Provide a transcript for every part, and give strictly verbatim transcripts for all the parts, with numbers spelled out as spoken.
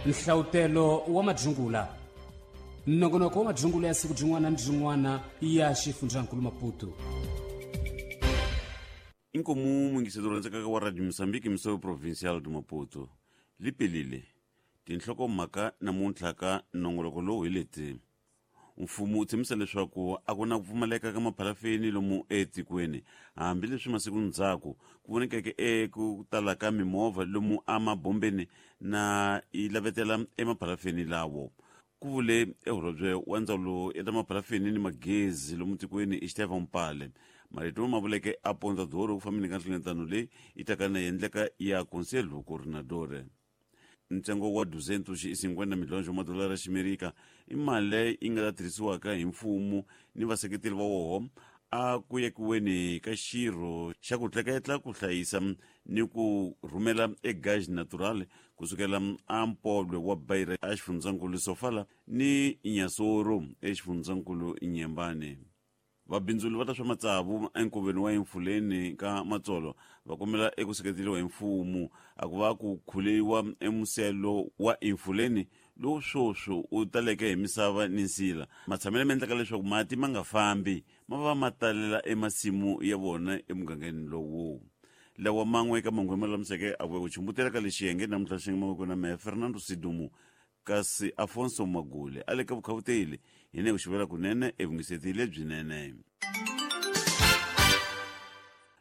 Nhlawutelo wa madzungula. Nongonoko wa madzungula ya siku byin'wana ni byin'wana ya xifundzankulu Maputo. Inkomu mwingiseto rhandzekaka wa Radio Mozambique Msowe Provincial de Maputo. Lipelile tinhlokomhaka namuntlha ka nongoloko lowu hi leti. Mfumo wu tshembisa leswaku a ku na ku pfumaleka ka maphalafeni lomu etikweni, hambileswi masiku ndzhaku ku vonekeke eku tala ka mimovha lomu emabombeni na yi lavetela emaphalafeni lawo. Ku vule eholobye wa ndzawulo ya ta maphalafeni ni magezi lomu tikweni Estevão Mpale. Marito ma vuleke a Pontadoro ku fambeni ka nhlengeletano leyi yi taka na endleka ya Conselho Coordenador. Ntsengo wa duzentos e cinquenta milhões wa madolara ya ximerika i mali leyi yi nga ta tirhisiwaka hi mfumo ni vaseketeri va woho a ku yekiweni ka xirho xa ku tleketla ku hlayisa ni ku rhumela e gás natural kusukela a Mpolwe wa Beira a xifundzankulu Sofala ni Inhassoro exifundzankulu Inhambane. Vabindzuli va ta swa matsavu enkoveni wa Emfuleni ka Matsolo va kombela eku seketeriwa hi mfumo a ku va ku khuliwa emuselo wa Emfuleni lowu swoswi wu taleke hi misava ni nsila. Matshamelo ma endlaka leswaku mati ma nga fambi ma va ma talela emasimu ya vona emugangeni lowu. Lawa man'we eka mahungu lama lulamiseke a ku chumbutela ka lexi xiyenge namuntlha xi nga mavoko na mehe Fernando Sidumo, kasi Afonso Magule a le ka vukhavuteli hi ne ku xivela kunene evungiseti lebyinene.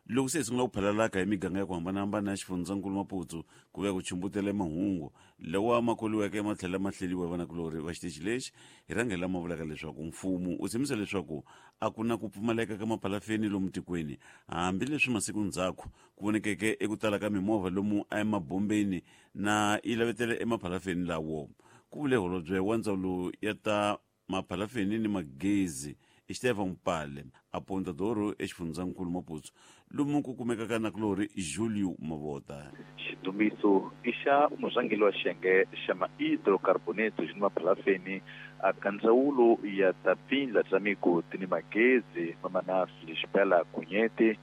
Loko se hi sungula ku phalalaka hi miganga ya ku hambanahambana ya xifundzankulu Maputo ku vuya ku chumbutela mahungu lawa ma koliweke ma tlhela ma hleriwa hi vanakulorhi va xitichi lexi hi rhangela lama vulaka leswaku mfumo wu tshembisa leswaku a ku na ku pfumaleka ka maphalafeni lomu tikweni, hambileswi masiku ndzhaku ku vonekeke eku tala ka mimovha lomu emabombeni na yi lavetele emaphalafeni lawo. Ku vule holobye wa ndzawulo ya ta maphalafeni ni magezi Estevão Mpale a Pontadoro exifundzankulu Maputo lomu ku kumekaka nakulorhi Julio Mavota. Xidumbiso i xa murhangeri wa xiyenge xa ma-hidrocarboneto ni maphalafeni a ka ndzawulo ya ta pfindla bya migodi ni magezi mamana Felisbela Cunhete.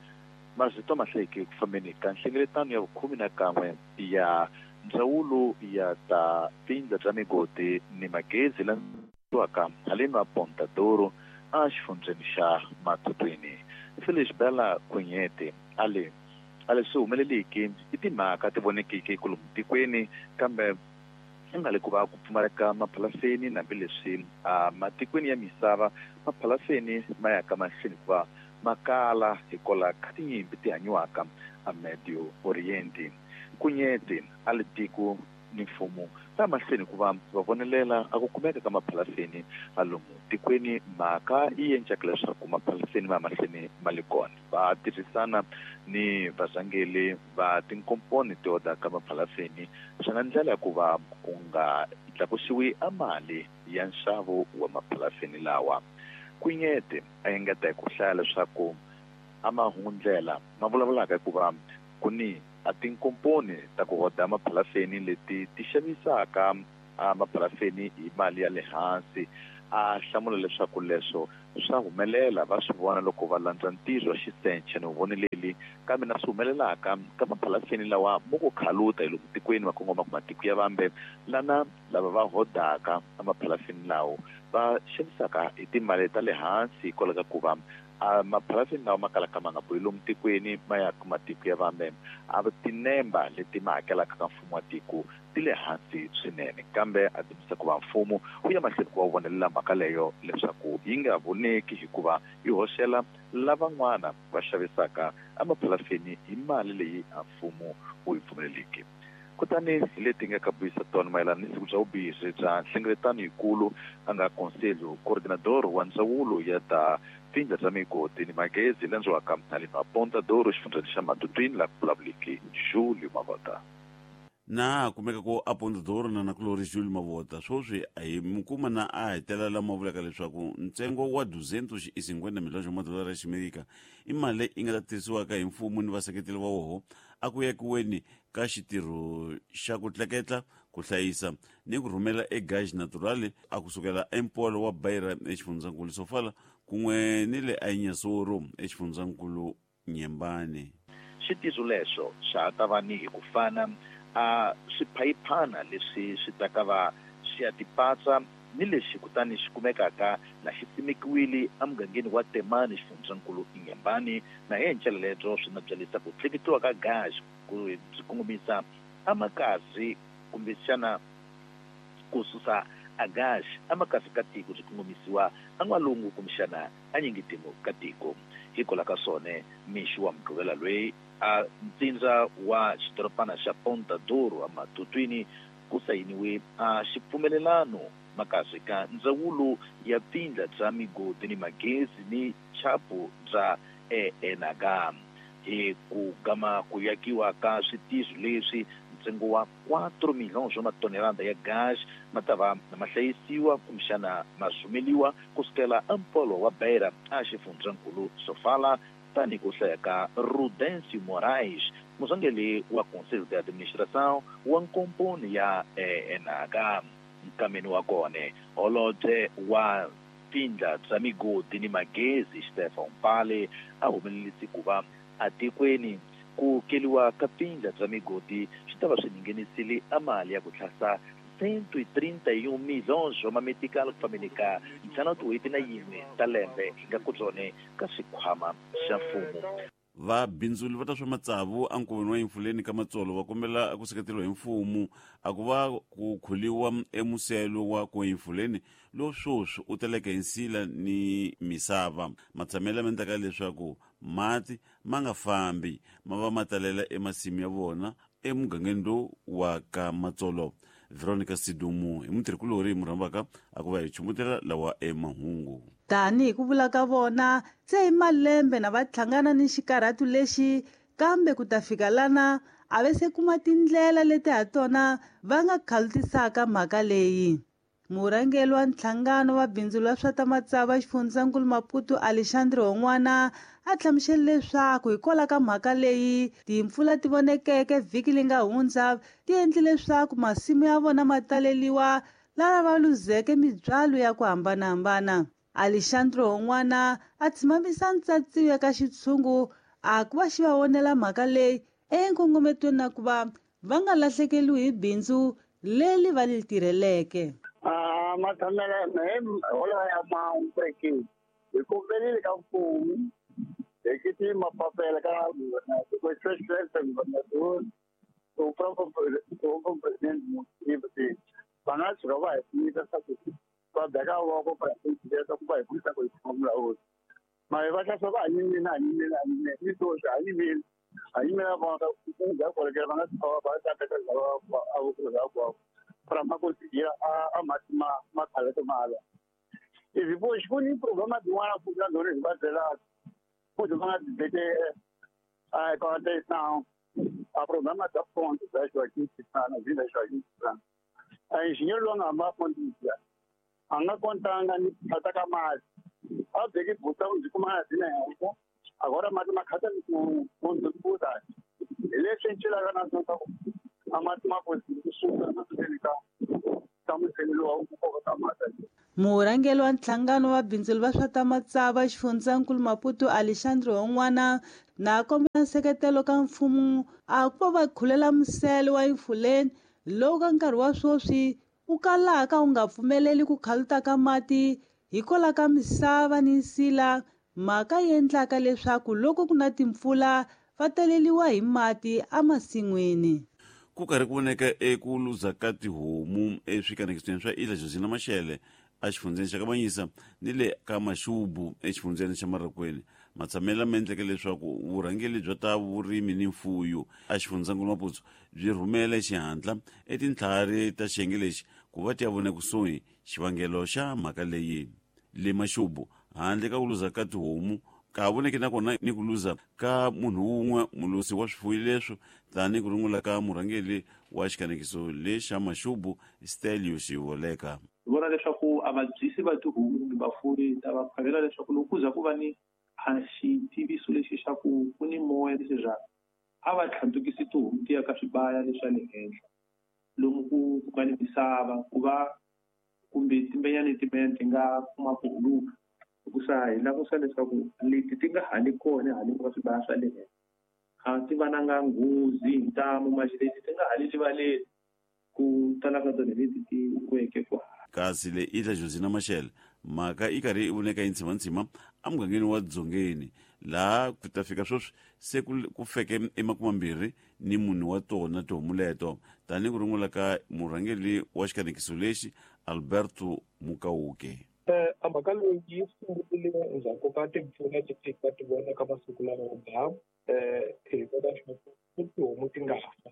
Mazito ma hlayeke ku fambeni ka nhlengeletano ya vukhume na kan'we ya ndzawulo ya ta pfindla bya migodi ni magezi landzelaka haleni wa Pontadoro a xifundzeni xa Matutwini. Felisbela Cunhete a le a leswi humeleliki i timhaka ti vonekiki kwalomu tikweni, kambe i nga le ku va ku pfumaleka maphalafeni hambileswi a matikweni ya misava maphalafeni ma ya ka mahlweni hikuva ma kala hikwalaho ka tinyimpi ti hanyiwaka a Medio Oriente. Cunhete a le tiko ni mfumo va mahlweni ku va va vonelela a ku kumeka ka maphalafeni a lomu tikweni, mhaka yi endlaka leswaku maphalafeni ma mahlweni ma le kona. Va tirhisana ni varhangeri va tinkomponi to ka maphalafeni swi nga ndlela ya ku va ku nga tlakusiwi a mali ya nxavo wa maphalafeni lawa. Cunhete a engeta hi ku hlaya leswaku a mahungundlela ma vulavulaka hikuva ku ni a tinkomponi ta ku hoda maphalafeni leti ti xavisaka a maphalafeni hi mali ya le hansi. A hlamula leswaku leswo swa humelela va swi vona loko va landza ntirho wa xisenche ni vuvoneleli, kambe na swi humelelaka ka maphalafeni lawa mo ku khaluta hi lomu tikweni ma kongoma ku matiko ya vambe lana lava va hodaka emaphalafeni lawo va xavisaka hi timali ta le hansi hikwalaho ka ku va a maphalafeni lawa ma kalaka ma nga bohi lomu tikweni ma ya ka matiko ya vambe a tinemba leti ma hakelaka ka mfumo wa tiko ti le hansi swinene, kambe a dzimisa ku va mfumo wu ya mahlweni ku va wu vonelela mhaka leyo leswaku yi nga voneki hikuva yi hoxela lavan'wana va xavisaka emaphalafeni hi mali leyi a mfumo wu yi pfumeleliki. Kutani hi leti nga ka buyisa tona mayelana ni siku bya vumbirhi bya nhlengeletano yikulu a nga Conselho Coordenador wa ndzawulo ya ta pfindla bya migodi ni magezi landziwaka haleni wa Pontadoro xifundzeni xa Matutwini laha ku vulavuliki Julio Mavota. Na kumeka ku a Pontadoro na nakulorhi Julio Mavota swoswi a hi mi kuma na a hetelela lama vulaka leswaku ntsengo wa duzentos e cinquenta milhões wa madolara ya ximerika i mali leyi yi nga ta tirhisiwaka hi mfumo ni vaseketeri va woho a ku yekiweni ka xitirho xa ku tleketla ku hlayisa ni ku rhumela e gás natural a kusukela empolo wa Beira exifundzankulu Sofala kun'we ni le Inhassoro exifundzankulu Inhambane. Xitizo lexo xa ha ta va ni hi ku fana a swiphayiphana leswi swi taka va swi ya tipatsa ni lexi kutani xi kumekaka na xi simekiwile emugangeni wa Temani xifundzankulu Inhambane na hi ndlela lebyo swi nga byalisa ku tleketliwa ka gas ku byi kongomisa amakasi kumbexana ku susa a gas amakasi ka tiko byi kongomisiwa an'walungu kumbexana anyingitimo ka tiko. Hikwalaho ka swona mixo wa Mugqivela loyi a ntsindza wa xidorobana xa Ponta Douro eMatutwini ku sayiniwe a xipfumelelano makasi ka ndzawulo ya tindla bya migodi ni magezi ni chapu bya E N H. Hi ku gama ku yakiwa ka switizo leswi ntsengo wa quatro milhões wa matonelada ya gas ma ta va ma hlayisiwa kumbexana ma rhumeliwa kusukela empolo wa Beira a xifundzankulu Sofala tani ku hlaya ka Rudencio Moraes murhangeri wa Conselho de Administração wa nkomponi ya E N H. Nkameni wa kona holobye wa tindla bya migodi ni magezi Stefan Pale a humelelise ku va atikweni ku keliwa ka tindla bya migodi swi ta va swi nghenisile a mali ya ku tlhasa cento e trinta e um milhões wa mametikalo ku fambeni ka ntlhanu tin'hweti na yin'we ta lembe hi nga ku byone ka xikhwama xa mfumo. Vabindzuli va ta swa matsavu enkoveni wa Emfuleni ka Matsolo va kombela ku seketeriwa hi mfumo a ku va ku khuliwa emuselo wa ku Emfuleni lowu sweswi u teleke hi nsila ni misava. Matshamelo ma endlaka leswaku mati ma nga fambi ma va ma talela emasimu ya vona emugangeni lowu wa ka Matsolo. Veronica Sidumu hi mutirhikulori murhambaka a ku va hi chumbutela lawa emahungu. Tanihi ku vula ka vona se hi malembe na va hlangana ni xikarhatu lexi kambe ku ta fika lana a ve se kuma tindlela leti ha tona va nga khalutisaka mhaka leyi. Murhangeri wa nhlangano wa bindzu la swa ta matsavu xifundzankulu Maputo Alexandre Hon'wana a hlamusele leswaku hikwalaho ka mhaka leyi timpfula ti vonekeke vhiki leri nga hundza ti endle leswaku masimu ya vona ma taleliwa lava va luzeke mibyalo ya ku hambanahambana. Alexandre Hon'wana a tshimamisa ntsatsiwo eka xitshungu a ku va xi va vonela mhaka leyi enkongometweni na ku va va nga lahlekeriwi hi bindzu leri va ri tirheleke. Ah, mathamela me hola ya mampeki hi kombelile ka mfumo hi kiti mapapela ka ku president governador o próprio o presidente municipal va nga tshuka va hi pfunisa swa ku va beka voko para ku va hi pfunisa ku hi kuma vulawuri ma hi va hlasa va hanyimile hanyimile hanyimile ni sweswi hanyimile hanyimile va nga ku nga kolekela va nga tshuka va ta teka lava a vukurhaka para ma conseguir a a ma ma khalete mala. E depois com um problema de uma funcionadora de batela, pois vão dizer a contenção, a problema da fonte da Joaquim Chissano, vida Joaquim Chissano. A engenheiro longa ma fonte anga contanga ni ataka mais. A de que botar um de como assim, né? Agora mais uma casa com com tudo. Ele é sentir a nação a matima Murhangeri wa nhlangano wa bindzu va swa ta matsavu xifundzankulu Maputo Alexandre Hon'wana na kombela nseketelo ka mfumo a ku va va khulela musele wa Emfuleni lowu ka nkarhi wa sweswi wu kalaka wu nga pfumeleli ku khaluta ka mati hikwalaho ka misava ni nsila mhaka yi endlaka leswaku loko ku na timpfula va taleliwa hi mati emasin'wini. Ku karhi ku voneka eku luza ka tihomu eswikanekisweni swa Ilha Josina Machel exifundzheni xa Kamanyisa ni le ka Maxubu exifundzheni xa Marokweni. Matshamelo ma endleke leswaku vurhangeri bya ta vurimi ni mfuyo exifundzhankulu Maputo byi rhumela xihatla etintlhari ta xiyenge lexi ku va ti ya vona kusuhi xivangelo xa mhaka leyi. Le Maxubu handle ka ku luza ka tihomu ka voneke nakona ni ku luza ka munhu wun'we mulusi wa swifuwo leswo tani ku rungula ka murhangeri wa xikanekiso lexa Maxubu Stelio Xivoleka. Hi vona leswaku a vabyisi va tihomu kumbe vafuwi ta va phavela leswaku loko ku za ku va ni a xitiviso lexi xa ku ku ni moya lexi bya a va tlhandlukisi tihomu ti ya ka swibaya leswa le henhla lomu ku ku nga ni misava ku va kumbe timbenyani timbenyani ti nga kuma ku huluka. Hikusa hi langusa leswaku leti ti nga hali kona haleni ka swibaya swa le henhla A ti va na nga nghozi hi ntamu maxi leti ti nga hali rivaleni ku tala ka tona leti ti weke kwa. Kasi le Ilha Josina Machel mhaka yi karhi yi voneka yi ntshima-ntshima emugangeni wa Dzongeni laha ku ta fika sweswi se ku feke emakumambirhi ni mune wa tona tihomu leto tanihi ku rungula ka murhangeri wa xikanekiso lexi Alberto Mukauke. A mhaka leyi yi sungule endzhaku ka timpfula ti fika ti vona ka masiku lama yo biha hi kota ku tihomu ti nga fa.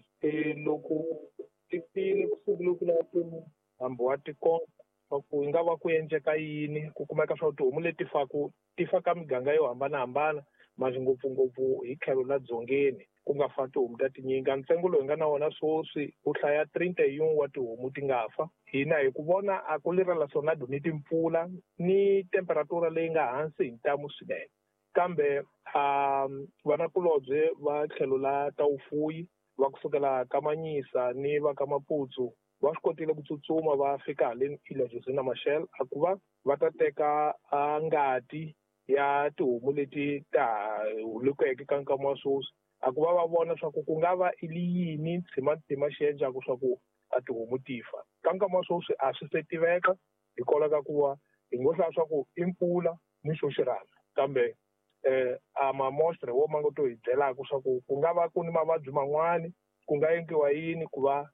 Loko ti file ku sungule ku lava ku hambi wa tikomba swa ku yi nga va ku endleka yini ku kumeka swa ku tihomu leti faku ti fa ka miganga yo hambanahambana masi ngopfungopfu hi tlhelo la Dzongeni ku nga fa tihomu ta tinyingi. Ntsengo lowu hi nga na wona sweswi wu hlaya trinta e un wa tihomu ti nga fa. Hina hi ku vona a ku leri relacionado ni timpfula ni temperatura leyi nga hansi hi ntamu swinene kambe um vanakulobye va tlhelo la ta vufuyi va kusukela ka Manyisa ni va ka Maputsu va swi kotile ku tsutsuma va fika haleni Ilha Josina Machel a ku va va ta teka ngati ya tihomu leti ta hulukeke ka nkama wa sweswi a ku va va vona swa ku ku nga va i li yini ntshima-ntshima xi endlaku swa ku a tihomu ti fa. Ka nkama wa sweswi a swi se tiveka hikwalaho ka ku va hi ngo hlaya swa ku i mpfula ni xo xirhami kambe eh a mamostre wo ma ngo to hi byelaka swa ku ku nga va ku ni mavabyi man'wani ku nga endliwa yini ku va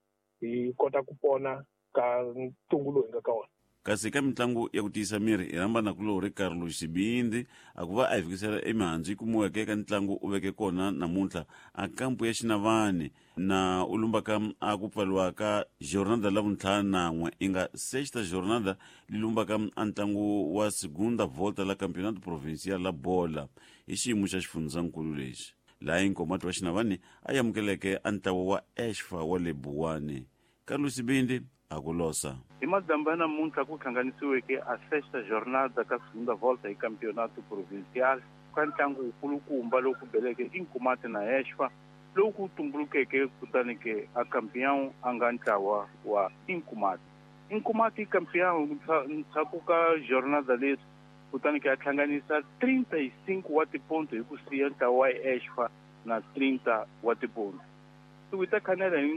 hi kota ku pona ka ntungu lowu hi nga ka wona. Kasi ka mitlangu ya ku tiyisa miri hi rhamba nakulorhi Carlos Xibindi a ku va a hi fikisela emihandzu yi kumiweke eka ntlangu u veke kona namuntlha a kampu ya Xinavani na u lumbaka a ku pfariwa ka jornada la vuntlhanu nan'we i nga sexta jornada li lumbaka a ntlangu wa segunda volta la campeonato provincial la bola hi xiyimo xa xifundzankulu lexi laha Inkomati wa Xinavani a amukeleke a ntlawa wa Exfa wa le Buwani. Carlos Xibindi a ku losa. Hi madyambu ya namuntlha ku hlanganisiweke a sexta jornada ka segunda volta hi campeonato provincial ka ntlangu wukulukumba lowu ku beleke Inkomati na Exfa lowu ku tumbulukeke kutani ke a campeão a nga ntlawa wa Inkomati. Inkomati campeão ndzhaku ka jornada leti kutani ke a hlanganisa trinta e cinco wa tiponto hi ku siya ntlawa wa Exfa na trinta wa tiponto. Hi ta khanela hi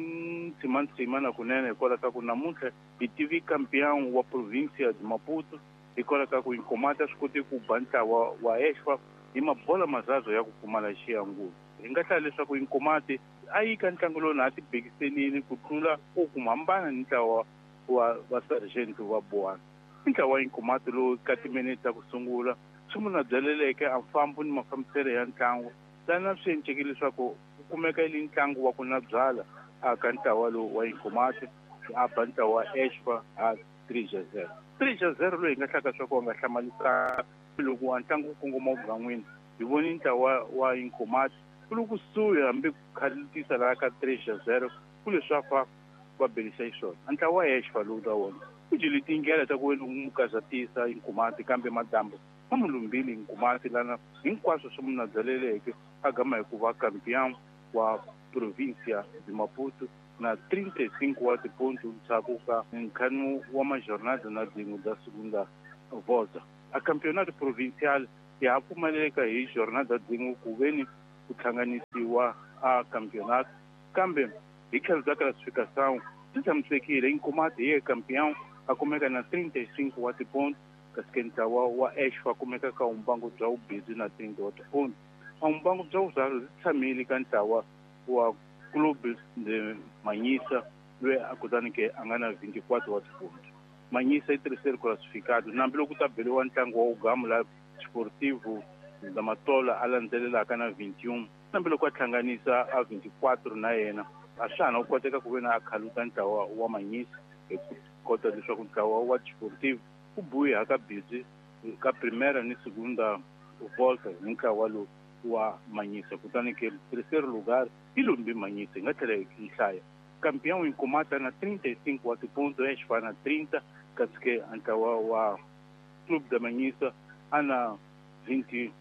ntshima-ntshima na kunene hikwalaho ka ku namuntlha hi tivi campeão wa província de Maputo hikwalaho ka ku Inkomati a swi koti ku ba ntlawa wa Exfa hi mabola mazazo ya ku pfumala xiyangulo. Hi nga hlaya leswaku Inkomati a yi ka ntlangu lowu na a ti bekiselile ku tlula ku kuma hambana ni ntlawa wa va sergeant wa Buwana. I ntlawa wa Inkomati lowu ka timinete ta ku sungula swi munhu a byaleleke a mfambo ni mafambiselo ya ntlangu lana swi encekile leswaku ku kumeka li ntlangu wa ku na byala a ka ntlawa lowu wa Inkomati a ba ntlawa wa Exfa a three a zero. three a zero loyi hi nga hlaka swa ku a nga hlamalisa loko a ntlangu wu kongoma vugan'wini hi voni ntlawa wa Inkomati ku le kusuhi hambi ku khaletisa laha ka three a zero ku leswaku va va belisa xiswona. A ntlawa wa Exfa lowu ta wona ku dyile tindlela ta ku wena u kazatisa Inkomati kambe madyambu ma mu lumbile Inkomati lana hinkwaswo swi munhu a byaleleke a gama hi ku va campeão wa província de Maputo na trinta e cinco wa tiponto ndzhaku ka nkhanu wa majornada na din'we da segunda volta. A campeonato provincial ya ha pfumaleka hi jornada din'we ku veni ku hlanganisiwa a campeonato kambe hi tlhelo bya classificação swi tshamisekile Inkomati hi ye campeão a kumeka na trinta e cinco wa tiponto kasi ke ntlawa wa Exfa kumeka ka vumbangu bya vubindzu na trinta wa tiponto. A vumbangu bya vuzalo byi tshamile ka ntlawa wa Clube de Manhissa loyi a kutani ke a nga na vinte e quatro wa tiponto. Manhissa i terceiro classificado nambi loko ta beliwa ntlangu wa ugamu la Sportivo da Matola a landzelelaka na vinte e um nambi loko a hlanganisa a vinte e quatro na yena a swa ha na ku koteka ku ve na a khaluta ntlawa wa Manhissa hi ku kota leswaku ntlawa wa Sportivo ku buya ka busy ka primeira ni segunda volta hi ntlawa lowu wa Manhissa kutani ke terceiro lugar i lumbi Manhissa hi nga tlhela hi hlaya campeão Inkomati na trinta e cinco wa tiponto Exfa na trinta kasi ke ntlawa wa Clube da Manhissa a na vinte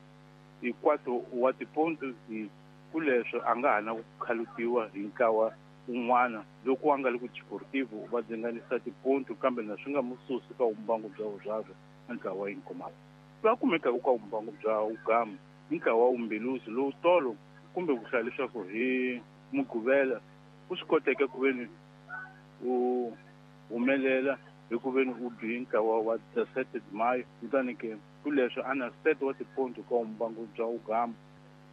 e quatro wa tiponto hi ku leswo a nga ha na ku khalutiwa hi ntlawa un'wana loko a nga le ku Desportivo va dzinganisa tiponto kambe na swi nga mu susi ka vumbangu bya vuzalo a ntlawa wa Inkomati. Va kumekaka ka vumbangu bya ugamu i ntlawa wa Umbeluzi lowu tolo kumbe ku hlaya leswaku hi Mugqivela u swi koteke ku veni u humelela hi ku veni u bi ntlawa wa dezesete de maio kutani ke ku leswo a na sete wa tiponto ka mbangu bya ugamba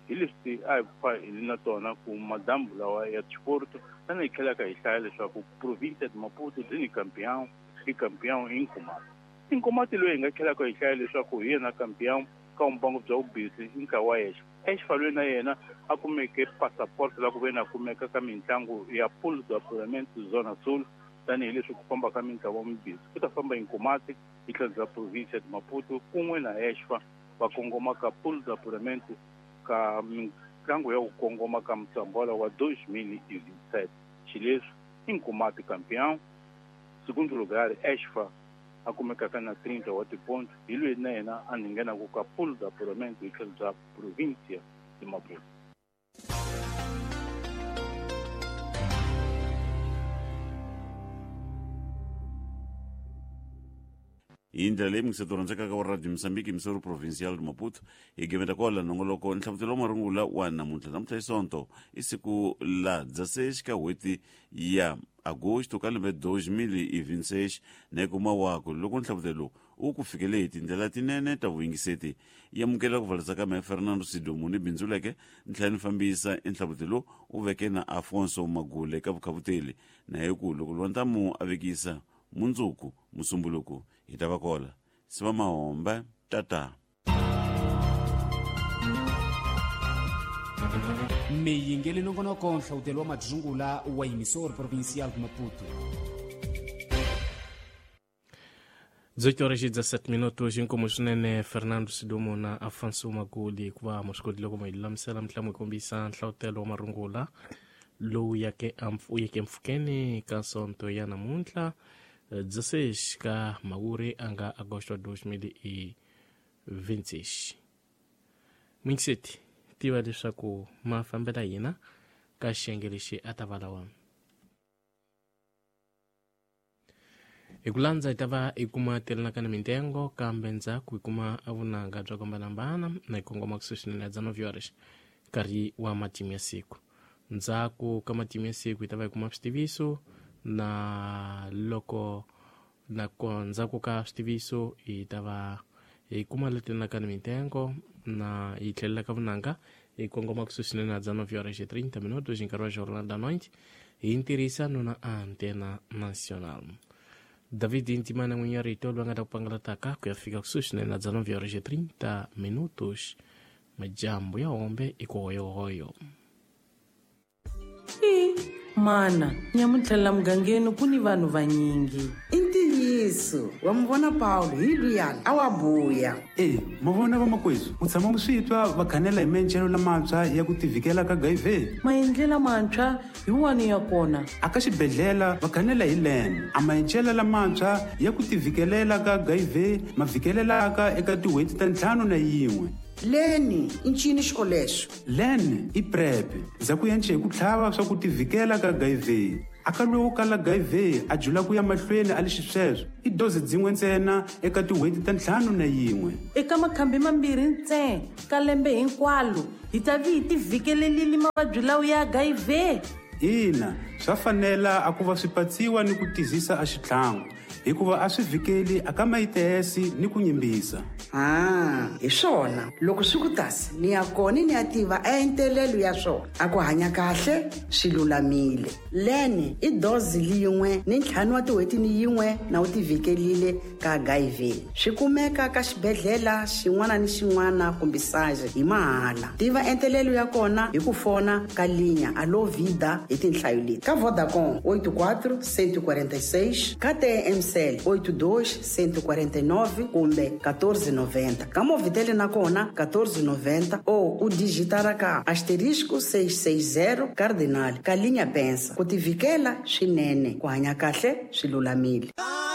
hi leswi a hi pfa hi na tona ku madambu lawa ya sport tani hi tlhelaka hi hlaya leswaku provincia de Maputo byi ni campeão i campeão i Nkomati i Nkomati loyi hi nga tlhelaka hi hlaya leswaku hi yena campeão ka mbangu bya vubisi i ntlawa wa yexe exifalweni na yena a kumeke passport la ku ve na kumeka ka mitlangu ya pool de apuramento Zona Sul tanihileswi ku famba ka mintlawa mibisi ku ta famba Nkomati hi tlhelo bya provincia de Maputo kun'we na Exfa va kongoma ka pool de apuramento ka mitlangu ya ku kongoma ka mutsambola wa dois mil e vinte e sete xileswi i Nkomati campeão segundo lugar Exfa a kumekaka na trinta wa tiponto hi loyi na yena a nghenaka ka pool de apuramento hi tlhelo bya provincia de Maputo. Hi ndlela leyi mingiseto rhandzekaka wa Radio Mozambique Missouri Provincial de Maputo hi gimeta kwala nongoloko nhlavutelo wa marungula wa namuntlha namuntlha hi Sonto i siku la dezesseis ka n'hweti ya agosto ka lembe dois mil e vinte e seis na kuma wako loko nhlavutelo u ku fikele hi tindlela tinene ta vuyingiseti yi amukela ku valisa ka mehe Fernando Sidomu ni bindzuleke ntlhela ni fambisa enhlavutelo u veke na Afonso Magule ka vukhavuteli na hi ku loko lwantamu a vekisa mundzuku musumbuluku hi ta va kola siva mahombe tata. Miyingeli nongonoko nhlawutelo wa madzungula wa Emissor Provincial de Maputo. dezoito horas e dezassete minutos inkomo swinene Fernando Sidomo na Afonso Maguli ku va moswikodile ku lulamisela mitlangu yi kombisa nhlawutelo wa marungula lowu yake u yeke mpfhukeni ka sonto ya namuntlha dezesseis ka mawuri a nga agosto dois mil e vinte e seis. Mingiseti tiva leswaku ma fambela hina ka xiyenge lexi a ta va lawa. Hi ku landza hi ta va hi kuma telanaka na mintengo kambe ndzhaku hi kuma vunanga bya ku hambanahambana na hi kongoma kusuhi swinene ya nove horas nkarhi wa matimu ya siku. Ndzhaku ka matimu ya siku hi ta va hi kuma switiviso na loko na ndzhaku ka switiviso hi ta va hi kuma letelanaka na mintengo na hi tlhelela ka vunanga hi kongoma kusuhi swinene na nove horas e trinta minutos nkarhi wa Jornal da Noite hi ntirhisano na Antena Nacional. David Intimana n'winyi rito loyi a nga ta ku pangalataka ku ya fika kusuhi swinene na nove horas e trinta minutos majambu ya hombe i ku hoyohoyo. I mana nyamuntlha la mugangeni ku ni vanhu vanyingi i ntiyiso wa mi vona Paulo hi luyani a wa buya e ma vona vamakwezu u tshama mu swi twa va khanela hi maendlelo lamantshwa ya ku tivhikela ka H I V maendlelo lamantshwa hi wani ya kona a ka xibedhlele va khanela hi lembe a maendlelo lamantshwa ya ku tivhikelela ka H I V ma vhikelelaka eka tin'hweti ta ntlhanu na yin'we. Leni i ncini xolexo len i PrEP ndzhaku ya nce hi ku tlhava swa ku tivhikela ka H I V a ka lowu kala H I V a jula ku ya mahlweni a le xisweswo i dozi dzin'we ntsena eka tin'hweti ta ntlhanu na yin'we eka makhambi mambirhi ntsena ka lembe hinkwalo hi ta vi hi tivhikelelile mavabyi lawa ya H I V. Ina swa fanela a ku va swi patsiwa ni ku tizisa a xitlhangu hikuva a swi vhikeli a ka mayitesi ni ku nyimbisa. Ah, hi swona loko swi ku tasi ni ya kona ni ya tiva entelelo ya swona a ku hanya kahle swi lulamile leni i dozi liyin'we ni ntlhanu wa tin'hweti ni yin'we na u tivhikelile ka H I V swi kumeka ka xibedhlele xin'wana ni xin'wana kumbe saje hi mahala tiva entelelo ya kona hi ku fona ka linya alo vida hi tinhlayo leti ka Vodacom oito quatro cento e quarenta e seis ka T M C oito dois cento e quarenta e nove kumbe quatorze noventa. Ka Movitele na kona quatorze noventa ou u digitara ka asterisco seis seis zero cardinal ka linya pensa ku tivikela swinene ku hanya kahle swi lulamile.